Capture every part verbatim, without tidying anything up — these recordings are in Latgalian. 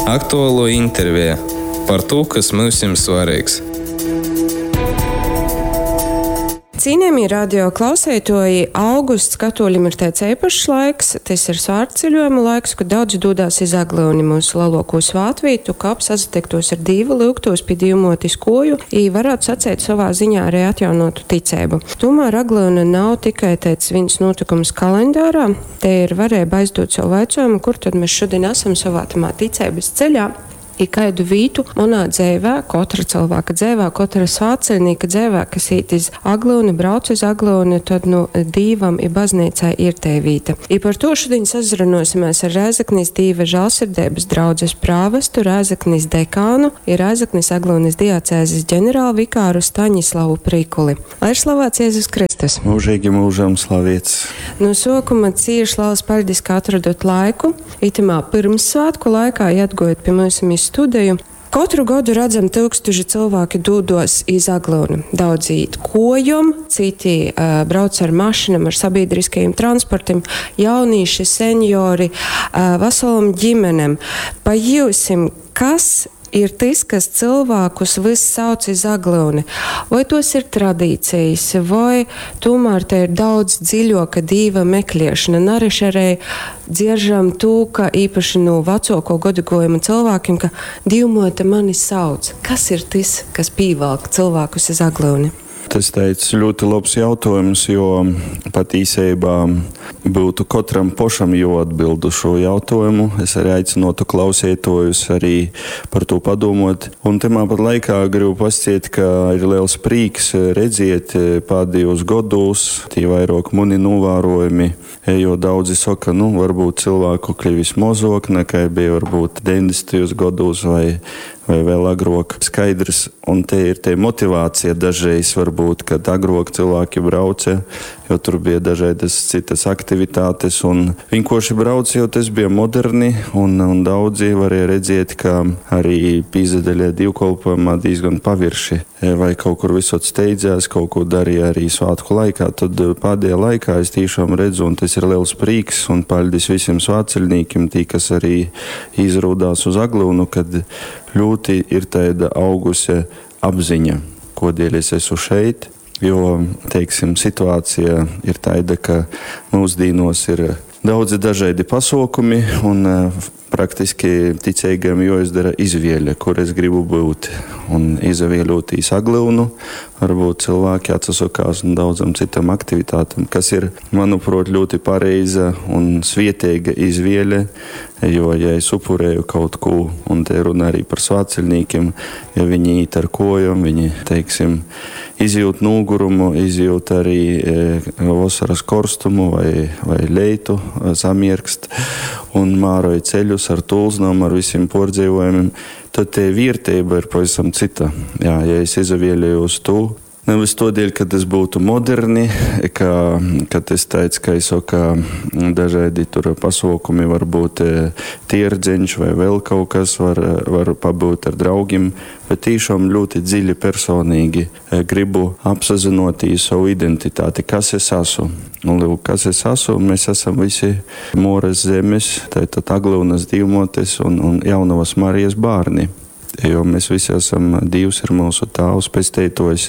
Aktualuo interveja par tū, kas myusim svareigs. Cīnījamie radio klauseitoji, augusts katoļim ir tāds eipašs laiks, tas ir svātceļojuma laiks, kad daudzi dodās iz Aglyuni, mūsu lielāko svātvītu, kap sasatiktos ar Dīvu, lyugtos pie Dīvmotis koju, i varētu sacēt savā ziņā arī atjaunotu ticēbu. Tomēr Aglyuna nav tikai tāds viens notikums kalendārā, te ir varēja aizdot savu vaicojumu, kur tad mēs šodien esam savā tamā ticības ceļā. I kaidu vītu manā dzēvē, katra cilvēka dzēvē, katra svātceļnieka dzēvē, kas īt iz Aglyuni, brauc iz Aglyuni, tad nu Dīvam i baznīcai ir te vīta. I par to šodien sazrunosimies ar Rēzeknis Dīva žālsirdības draudzes prāvestu, Rēzeknis dekānu i Rēzeknis Aglyunis diacēzes ģenerālvikāru Staņislavu Prikuli. Lai ir slavēts Jēzus Kristus! Mūžīgi mūžam slavēts! No sākuma cieši liels paldies, ka atradot laiku. Itamā pirmssvētku laikā, ja atgojat pie mums iz studiju. Katru gadu redzam, tūkstoši cilvēki dodos iz Aglyunu. Daudzi īt kojom, citi uh, brauc ar mašīnām, ar sabiedriskajiem transportiem, jaunīši, seniori, uh, veselam ģimenem. Pa jūsim, kas ir tas, kas cilvēkus viss sauc iz Aglyuni? Vai tos ir tradīcijas, vai tomēr te ir daudz dziļoka dīva meklēšana? Nareši arī dzieržam to, ka īpaši no vecāko gadagājuma cilvēkiem, ka Dīvmote mani sauc. Kas ir tas, kas pīvalk cilvēkus iz Aglyuni? Tas teica ļoti labs jautājums, jo patīsībā būtu katram pašam jāatbild uz šo jautājumu. Es arī aicinotu klausītājus arī par to padomot. Un tamā pat laikā gribu pasciet, ka ir liels prieks redziet pēdējos gados, tie vairāk mani novērojumi, jo daudzi saka, nu, varbūt cilvēku kļuvis mozok, nekā bija varbūt deviņdesmitajos gados vai, vai vēl agrāk. Skaidrs, un te ir te motivācija dažreiz varbūt, kad agrāk cilvēki brauca, jo tur bija dažādas citas aktivitātes, un vienkārši brauca, jo tas bija moderni, un, un daudzi varēja redzēt, ka arī pīzadaļā dievkalpojumā diezgan pavirši, vai kaut kur visot steidzās, kaut ko darīja arī svētku laikā. Tad pēdējā laikā es tiešām redzu, un tas ir liels prieks, un paldies visiem svētceļniekiem, tī, kas arī izrūdās uz Aglyunu, kad ļoti ir tāda augusi apziņa, kodēļ es esmu šeit, jo, teiksim, situācija ir tāda, ka mūsdienos ir daudzi dažādi pasaukumi un praktiski ticīgiem jāizdara izvēle, kur es gribu būt. Un izvēlēties Aglyunu, varbūt cilvēki atsakās un daudzam citam aktivitātēm, kas ir, manuprāt, ļoti pareiza un svieteiga izvēle, jo, ja es upurēju kaut ko, un te runa arī par svētceļniekiem, ja viņi īt ar kojom, viņi, teiksim, izjūt nogurumu, izjūt arī e, vasaras korstumu vai, vai leitu, samierkst un māroja ceļus ar tulznām, ar visiem pordzēvojumiem, tad te vērtība ir pavisam cita. Jā, ja es izvēlējos to, nevis todēļ, ka tas būtu moderni, ka, ka tas teica, ka es saku, ka dažādi tur pasaukumi varbūt tierdzeņš vai vēl kaut kas var, var pabūt ar draugiem, bet tiešām ļoti dziļi personīgi gribu apsazinotīs savu identitāti, kas es esmu. Un, lūk, kas es esmu, mēs esam visi Moras zemes, tātad Aglyunas Dīvmotes un, un Jaunavas Marijas bērni. Jo mēs visi esam, Dievs ir mūsu tēvs, pestītājs,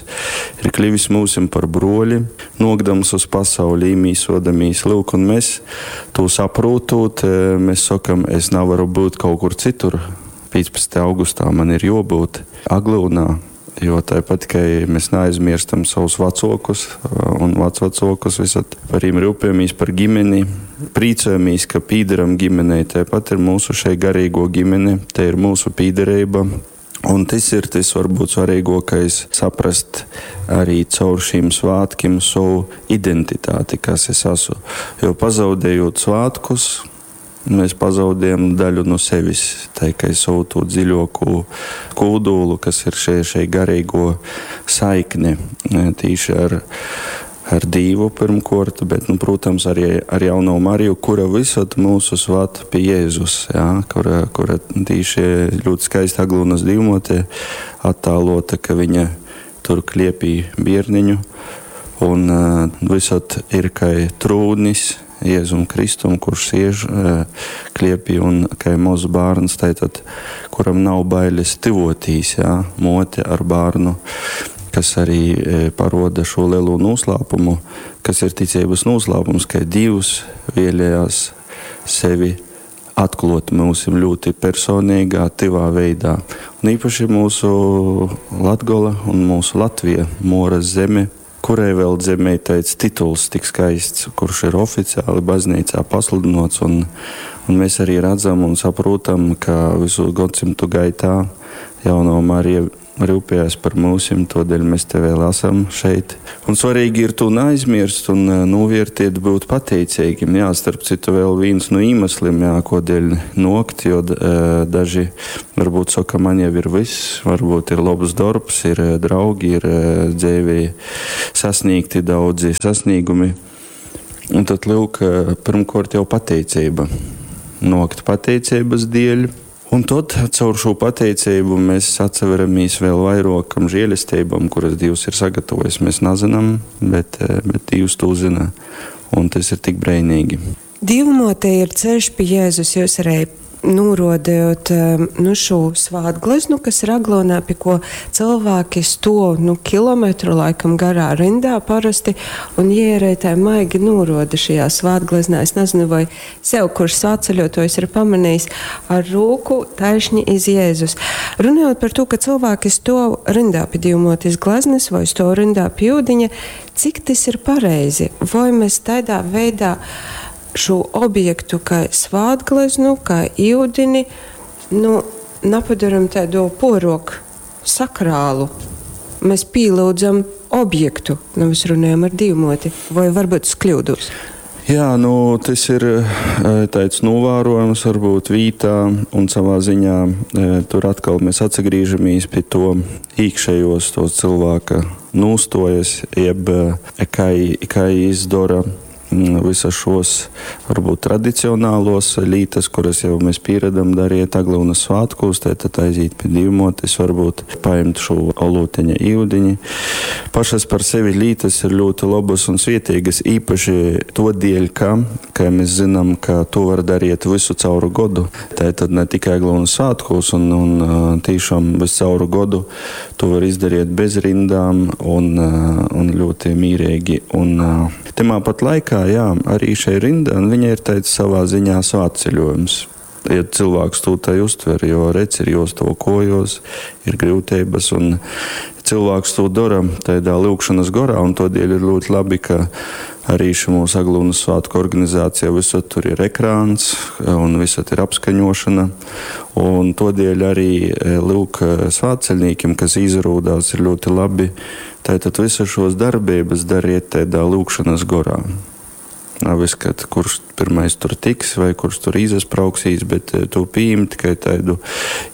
ir kļuvis mūsim par broļi, nokdams uz pasauli, īmīsodamīs. Lūk, un mēs to saprotot, mēs sakam, es nevaru būt kaut kur citur. piecpadsmitā augustā man ir jābūt Aglyunā, jo tāpat, ka mēs neaizmirstam savus vecākus un vecvecākus, visad par viņiem rūpējamies, par ģimeni, priecājamies, ka pīderam ģimenei, tāpat ir mūsu šai garīgo ģimene, te ir mūsu pīderība. Un tas ir tas varbūt svarīgākais saprast arī caur šīm svētkiem savu identitāti, kas es esmu. Jo pazaudējot svētkus, mēs pazaudējam daļu no sevis, tā kā savu to dziļāko kūdulu, kas ir šai, šai garīgo saikne tīši ar, ar Dievu pirmkārt, bet, nu, protams, arī ar jauno Mariju, kura visad mūsu svat pie Jēzus, jā, kura, kura tīši ļoti skaisti Aglyunas Dīvmote attēlota, ka viņa tur kliepī bierniņu, un uh, visad ir kā trūnis, Jēzum Kristum, kurš siež kliepī un kai moz bārns, tātad, kuram nav bailes tyvotīs, jā, mote ar bārnu, kas arī paroda šo lielo noslēpumu, kas ir ticības noslēpums, ka Dievs vēlējās sevi atklāt mums ļoti personīgā, tivā veidā. Un īpaši mūsu Latgola un mūsu Latvija, Moras zeme, kurai vēl zemē tāds tituls tik skaists, kurš ir oficiāli baznīcā pasludinots, un, un mēs arī redzam un saprotam, ka visu gadsimtu gaitā jauno Marija rūpējās par mūsim, todēļ mēs te vēl esam šeit. Un svarīgi ir to neaizmirst un novērtēt, būt pateicīgiem. Jā, starp citu vēl viens no iemesliem, jā, kodēļ nokt, jo daži varbūt saka, man jau ir viss, varbūt ir labs darbs, ir draugi, ir dzīvē sasniegti daudzi sasniegumi. Un tad, lūk, pirmkārt jau pateicība. Nokt pateicības dēļ. Un tad caur šo pateicību mēs atseveramies vēl vairākam žēlestībām, kuras Dievs ir sagatavojis. Mēs nezinām, bet, bet Dievs to zina. Un tas ir tik brīnīgi. Dievmāte ir ceļš pie Jēzus. Jūs arī norodējot nu, šo svātgleznu, kas ir Aglonā, pie ko cilvēki stov nu, kilometru laikam garā rindā parasti, un ierē tā maigi noroda šajā svātgleznā. Es nezinu, vai sev, kurš svātceļotājs ir pamanījis ar rūku taišņi iz Jēzus. Runājot par to, ka cilvēki stov rindā pie Dievmātes gleznas vai stov rindā pie ūdeņa, cik tas ir pareizi? Vai mēs tādā veidā šo objektu, kā svātgleznu, kā ūdeni, nu, napadaram tādu poroku sakrālu. Mēs pielūdzam objektu, nevis runājam ar Dievmoti, vai varbūt es kļūdos? Jā, nu, tas ir tāds novērojums, varbūt vītā, un savā ziņā tur atkal mēs atsagriežamies pie to iekšējos, to cilvēka nūstojas, jeb kā, kā izdara visas šos varbūt tradicionālos lītas, kuras jau mēs pieredam darīt Aglonas svētkos, tad aiziet pie Dievmotes, varbūt paņemt šo olūteņa īudiņi. Pašas par sevi lītas ir ļoti labas un svietīgas, īpaši to dēļ, ka, ka mēs zinām, ka to var darīt visu cauru godu. Tātad ne tikai Aglonas svētkos un, un tiešām visu cauru godu to var izdarīt bez rindām un, un ļoti mīrīgi. Un timā pat laikā, jā, arī šai rinda, un viņa ir teica savā ziņā svētceļojums. Ja cilvēks to tai uztver, jo redz, ir josto kojos, ir grūtības, un cilvēks to dara tādā lūgšanas gorā, un todēļ ir ļoti labi, ka arī šī mūsu Aglonas svētku organizācija visur tur ir ekrāns, un visur ir apskaņošana, un todēļ arī lūk svētceļniekiem, kas izrūdās, ir ļoti labi, tātad visas šos darbības dariet tādā lūgšanas gorā. Nav kad kurš pirmais tur tiks vai kurš tur izasprauksīs, bet to pieņemt tikai tādu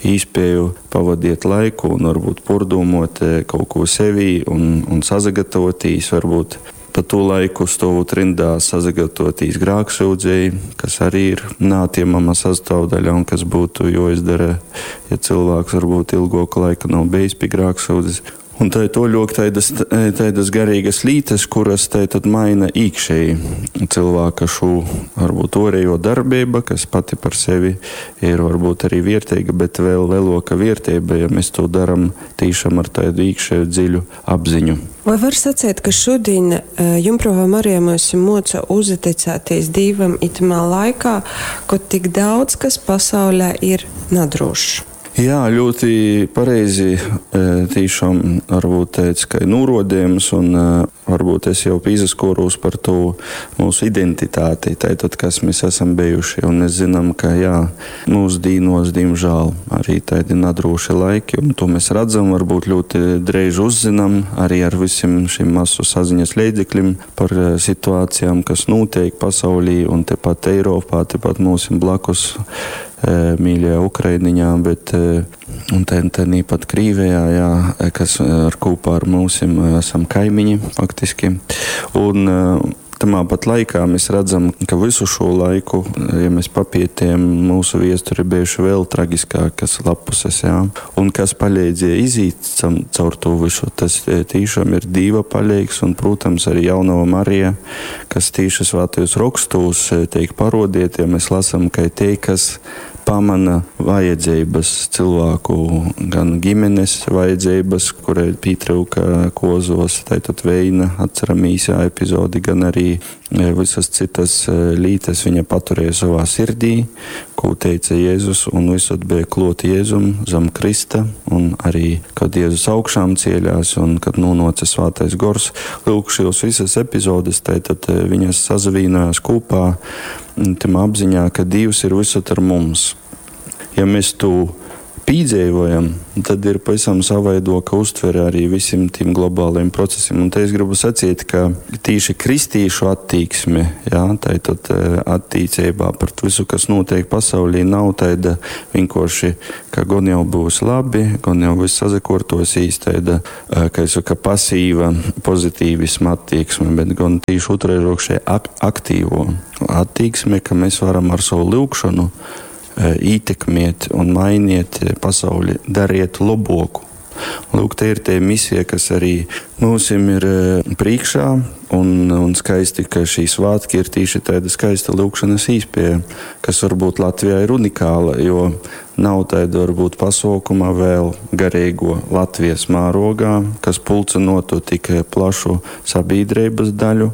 īspēju pavadiet laiku un varbūt pordūmot kaut ko sevī un, un sazagatavotīs, varbūt pa to laiku stāvot rindā sazagatavotīs grāksūdzēji, kas arī ir neatņemama sastāvdaļa un kas būtu jāizdara, ja cilvēks varbūt ilgāku laiku nav bijis pie grāksūdzes. Un tā ir toļok tādas, tādas garīgas lītas, kuras tā tad maina iekšēji cilvēka šo varbūt orējo darbība, kas pati par sevi ir varbūt arī vērtīga, bet vēl lielāka vērtība, ja mēs to daram tīšām ar tādu iekšēju dziļu apziņu. Vai var sacīt, ka šodien Jumprava Marija mums moca uzticēties Dievam itamā laikā, kad tik daudz kas pasaulē ir nedrošs? Jā, ļoti pareizi tiešām varbūt teica, ka ir norodījums un varbūt es jau pīzaskoros par to mūsu identitāti, tātad, kas mēs esam bijuši, un mēs zinām, ka jā, mūsu dīnos, diemžēl, arī tādi nedroši laiki, un to mēs redzam, varbūt ļoti dreiž uzzinām arī ar visiem šiem masu saziņas līdzekļiem par situācijām, kas notiek pasaulī un tepat Eiropā, tepat mūsim blakus mīļajā Ukrainiņā, bet un te, te pat Krīvijā, jā, kas ar kopā ar mūsim esam kaimiņi faktiski. Un Tamā pat laikā mēs redzam, ka visu šo laiku, ja mēs papietiem, mūsu viesturi bijuši vēl tragiskākas lapuses, jā. Un kas palīdzēja iziet caur to visu, tas tiešām ir Dīva palīgs un, protams, arī Jaunava Marija, kas tīši svētajos rakstos tiek parodiet, ja mēs lasam, ka tie, kas pamana vajadzības cilvēku, gan ģimenes vajadzības, kurai pietrūka kozos, tātad veina, atceram īsā epizodi, gan arī visas citas lītas viņa paturēja savā sirdī, ko teica Jēzus, un visur bija klot Jēzum zem Krista, un arī, kad Jēzus augšām cieļās un kad nonāca Svētais Gors, lūk, šīs visas epizodes, tātad viņas sazavīnojās kopā, tam apziņā, ka Dievs ir visur ar mums. Ja mēs to pīdzīvojam, tad ir pavisam savaidoka uztvere arī visiem tiem globāliem procesiem. Un te es gribu sacīt, ka tīši kristīšu attīksme, jā, tātad attīcībā pret visu, kas notiek pasaulī, nav tāda vienkārši, ka gon jau būs labi, gon jau viss sazakortosīs, tāda, kā es saku, pasīva pozitīvisma attieksme, bet gan tīši otrreiz ak aktīvo attieksme, ka mēs varam ar savu lūgšanu ietekmēt un mainiet pasauli, dariet laboku. Lūk, te ir tie misija, kas arī mūsim ir priekšā, un, un skaisti, ka šī svētki ir tīši tāda skaista lūgšanas īspēja, kas varbūt Latvijā ir unikāla, jo nav tāda varbūt pasaukuma vēl garīgo Latvijas mērogā, kas pulcinotu tik plašu sabiedrības daļu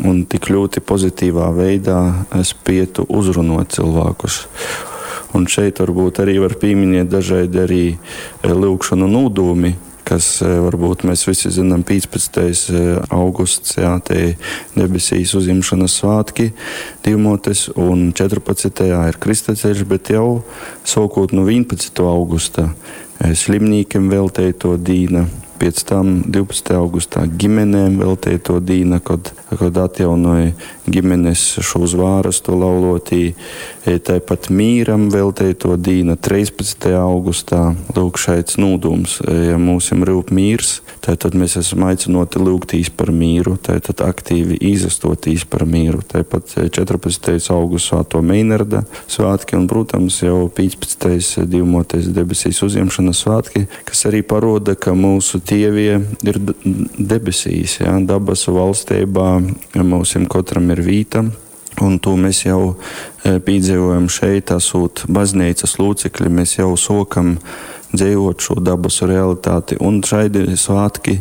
un tik ļoti pozitīvā veidā spietu uzrunot cilvēkus. Un šeit varbūt arī var pieminēt dažādi arī lūgšanu nūdūmi, kas varbūt mēs visi zinām piecpadsmitais augusts, jā, te debesīs uzņemšanas svētki Divmotes, un četrpadsmitajā ir Kristaceļš, bet jau sākot no vienpadsmitā augusta slimnīkiem veltēto dīna, pēc tam divpadsmitā augustā ģimenēm veltēto dīna, kad, kad atjaunoja ģimenes šo zvārastu laulotī, tāpat mīram veltēto dīna trīspadsmitajā augustā. Lūk, šaits nūdums, ja mūsim rūp mīrs, tātad mēs esam aicinoti lūgtīs par mīru, tātad aktīvi izastotīs par mīru. Tāpat četrpadsmitais augusts Svēto Meinarda svētki un, protams, jau piecpadsmitais Divmotes debesīs uzņemšanas svētki, kas arī paroda, ka mūsu tievie ir debesīs, jā, dabasu valstībā mūsim katram ir vīta, un to mēs jau piedzīvojam šeit, esot baznīcas locekļi, mēs jau sokam dzīvot šo dabasu realitāti, un šaidi svētki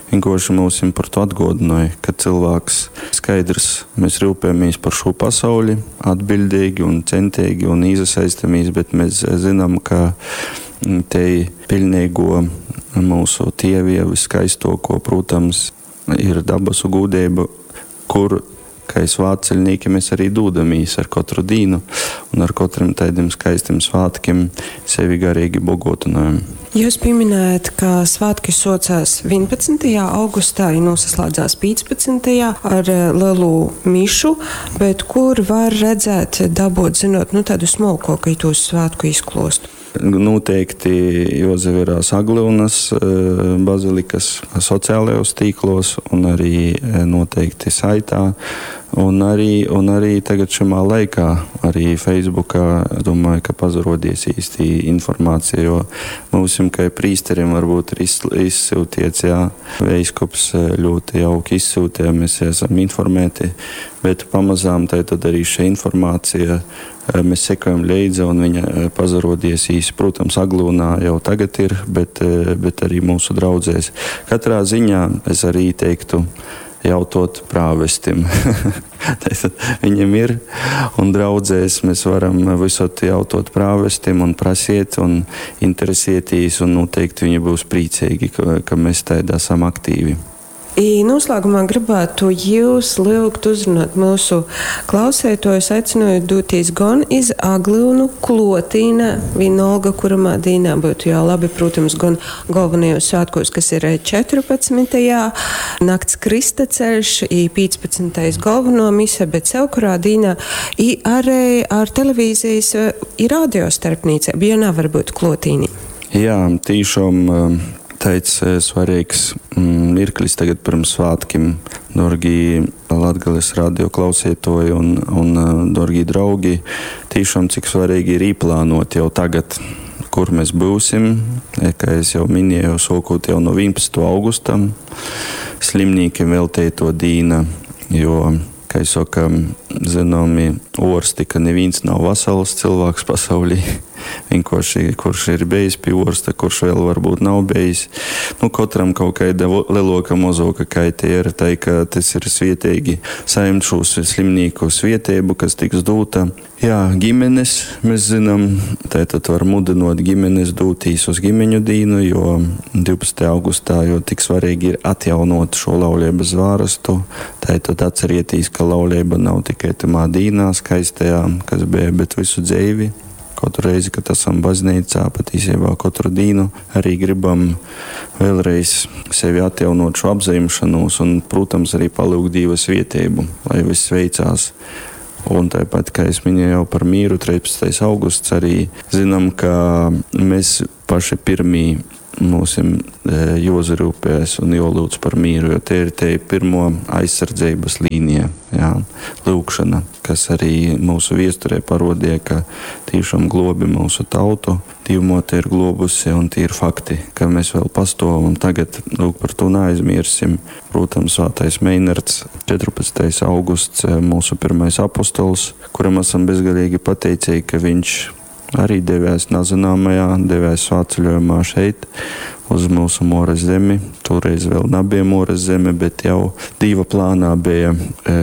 vienkārši mūsim par to atgodināja, ka cilvēks skaidrs, mēs rūpējamies par šo pasauli atbildīgi un centīgi un iesaistamies, bet mēs zinām, ka te pilnīgo mūsu tievie viskaistoko, protams, ir dabasu gūdība, kur, kā svētceļnieki, mēs arī dūdamies ar katru dīnu un ar katram tādiem skaistiem svētkiem sevi garīgi bogotinājam. Jūs pieminējat, ka svētki socās vienpadsmitajā augustā, ja nosaslēdzās piecpadsmitajā ar lielu mišu, bet kur var redzēt, dabūt, zinot, nu, tādu smalko, ka tos svētku izklostu? Noteikti Jozeverās Aglyunas bazilikas sociālajos tīklos un arī noteikti saitā. Un arī, un arī tagad šamā laikā, arī Facebookā, domāju, ka pazarodies īsti informācija, jo mūsim, kā prīsteriem, varbūt ir izsūtiets, jā, veiskups ļoti jauki izsūtīja, mēs esam informēti, bet pamazām tā tad arī šī informācija, mēs sekojam līdzi un viņa pazarodies īsi. Protams, Aglūnā jau tagad ir, bet, bet arī mūsu draudzēs. Katrā ziņā es arī teiktu, jautot prāvestim. Tātad viņam ir, un draudzēs mēs varam visot jautot prāvestim un prasiet un interesētīs, un noteikti viņi būs priecīgi, ka, ka mēs tādā esam aktīvi. I noslēgumā gribētu jūs lūgt uzrunāt mūsu klausētojus, aicinot doties gan iz Aglyunu, Klotīna, vienalga, kuramā dīnā būtu jau labi, protams, gan galvenajos svētkos, kas ir četrpadsmitajā, nakts Kristaceļš, i piecpadsmitais galveno mise, bet sevkurā dīnā, i arī ar televīzijas i radio starpnīcību, ja nav varbūt Klotīni. Jā, tīšām, teic, svarīgs, mm, mirklis tagad pirms svētkiem Dorgī Latgales radio klausītoji un, un dorgī draugi, tiešām cik svarīgi ir īplānot jau tagad, kur mēs būsim. Kā es jau minēju, sākot jau no vienpadsmitā augusta, slimnīkiem veltēto dīna, jo, kā es saku, zināmi orsti, ka neviens nav vesels cilvēks pasaulī. Vienkārši, kurš ir bijis pie orsta, kurš vēl varbūt nav bijis. Nu, katram kaut kāda lielāka, mazāka kaita ir, tai, ka tas ir svietīgi saņemt šos slimnieku svietēbu, kas tiks dota. Jā, ģimenes, mēs zinām, tātad var mudinot ģimenes dūtīs uz ģimeņu dīnu, jo divpadsmitā augustā, jo tik svarīgi ir atjaunot šo laulības zvārastu. Tātad atcerieties, ka laulība nav tikai tamā dīnā skaistajā, kas bija, bet visu dzīvi. Katru reizi, kad esam baznīcā, patiesībā katru dienu arī gribam vēlreiz sevi atjaunot šo apzināšanos un, protams, arī palūgt Dieva svētību, lai viss veicās. Un tāpat, kā es minēju jau par mīru, trīspadsmitais augusts, arī zinām, ka mēs paši pirmī mūsim jozarūpēs un jolūdz par mīru, jo te ir te pirmo aizsardzības līnija, jā, lūgšana, kas arī mūsu viesturē parodīja, ka tiešām globi mūsu tautu, Dīvmote ir globusi un tie ir fakti, ka mēs vēl pastovam un tagad, lūk, par to neaizmirsim. Protams, svētais Meinards, četrpadsmitais augusts, mūsu pirmais apostols, kuram esam bezgalīgi pateicīgi, ka viņš arī devās nezināmajā, devās svētceļojumā šeit, uz mūsu Moras zemi. Toreiz vēl nebija Moras zeme, bet jau Dieva plānā bija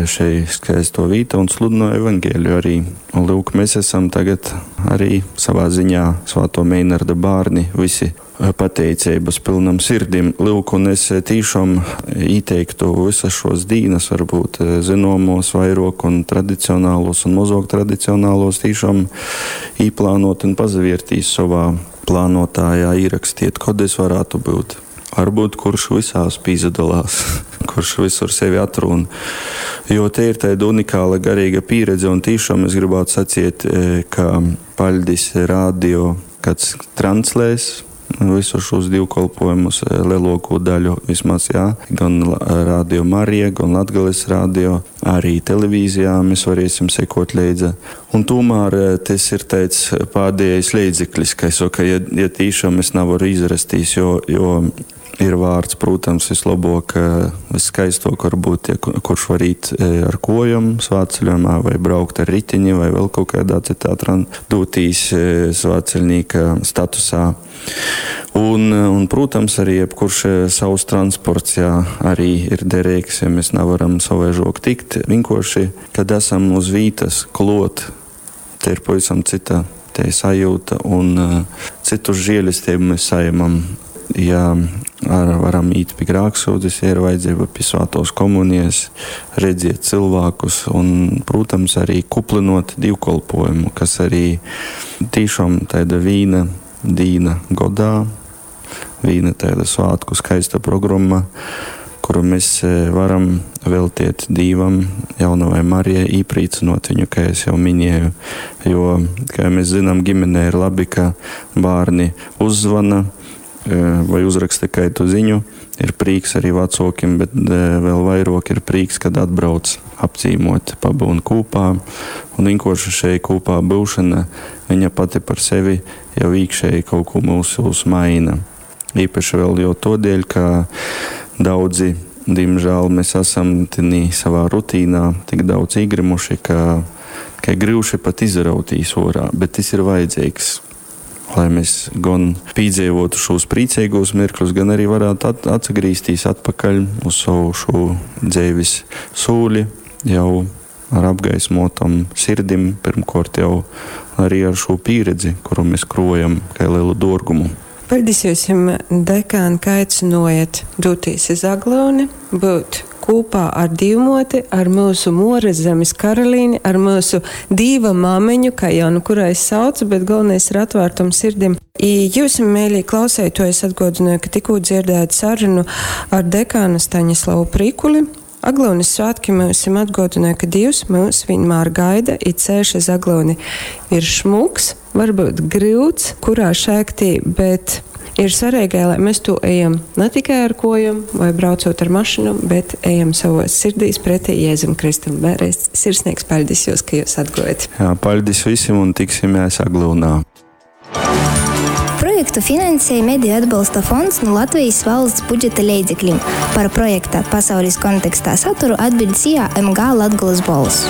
šeit skaisto vīta un sludināja evaņģēliju arī. Un lūk, mēs esam tagad arī savā ziņā svēto Meinarda bērni, visi pateicības pilnam sirdim. Lūk, un es tiešām ieteiktu visas šos dīnas, varbūt zināmos vairāk un tradicionālos un mazāk tradicionālos, tiešām īplānot un pazaviertīs savā plānotājā, ierakstiet, kod es varētu būt. Varbūt kurš visās pīzadalās, kurš visur sevi atrūn. Jo te ir tāda unikāla garīga pieredze, un tiešām es gribētu sacīt, ka paļdis radio, kāds translēs visus šos divkolpojumus, lielāko daļu vismaz, jā, gan Radio Marija, gan Latgales radio, arī televīzijā mēs varēsim sekot līdzi. Un tomēr tas ir tāds pēdējais līdzeklis, ka es saku, ja, ja tiešām es nevaru izrastīs, jo, jo ir vārds, protams, vislabāk, viskaistāk varbūt, ja kurš var īt ar kojam svētceļojumā vai braukt ar ritiņi vai vēl kaut kādā citā dotīs svētceļnieka statusā. Un, un, protams, arī jebkurš savs transports, jā, arī ir derīgs, ja mēs nevaram savaižok tikt. Vienkārši, kad esam uz vītas klot, te ir pavisam cita te sajūta un citu žēlistību mēs saņemam. Ja ar, varam īt pie grēksūdzes, ja ir vajadzība pie svētos komunijas, redziet cilvēkus un, protams, arī kuplinot divkolpojumu, kas arī tiešām tāda vīna dīna godā, vīna tāda svētku skaista programma, kuru mēs varam veltiet Dievam, jaunavai Marijai, īprīcinot viņu, kā es jau minēju, jo, kā mēs zinām, ģimenē ir labi, ka bērni uzzvana vai uzraksta kaitu ziņu, ir prieks arī vecākiem, bet vēl vairāk ir prieks, kad atbrauc apcīmot, pabūn kopā. Un vienkārši šeit kopā būšana, viņa pati par sevi jau iekšēji kaut ko mūsos maina. Īpaši vēl jau todēļ, ka daudzi, diemžēl, mēs esam tinī savā rutīnā tik daudz iegrimuši, ka, ka grūši pat izrautīs orā, bet tas ir vajadzīgs, lai mēs gan piedzīvotu šos priecīgos mirkļus, gan arī varētu at-, atgriezties atpakaļ uz savu šo dzīves sūli jau ar apgaismotam sirdim, pirmkārt jau arī ar šo pieredzi, kuru mēs krojam kā lielu dārgumu. Paldies jums, dekāni, ka aicinojat doties iz Aglyuni, būt kopā ar Dīvmoti, ar mūsu Moras zemes karalīni, ar mūsu Dīva māmiņu, kā jau nu kurā es saucu, bet galvenais ir atvērtum sirdim. I jūs, mīļie klausētoji, es atgādināju, ka tikko dzirdējāt sarunu ar dekānu Staņislavu Prikuli. Aglyunis svētki mēs jums atgādināju, ka Dievs mūs vienmēr gaida, it ceļš uz Aglyuni ir šmuks, varbūt grūts, kurā šēktī, bet Ir svarīgai, lai mēs to ejam ne tikai ar kojom vai braucot ar mašīnu, bet ejam savos sirdīs pretī Jēzum Kristum. Vēlreiz sirsnīgs paļdis jūs, ka jūs atgojat. Jā, paļdis visiem un tiksimies Aglyunā. Projektu finansēja Mediju atbalsta fonds no Latvijas valsts budžeta leidzekļiem. Par projekta pasaules kontekstā saturu atbild SIA M G Latgolas Bols.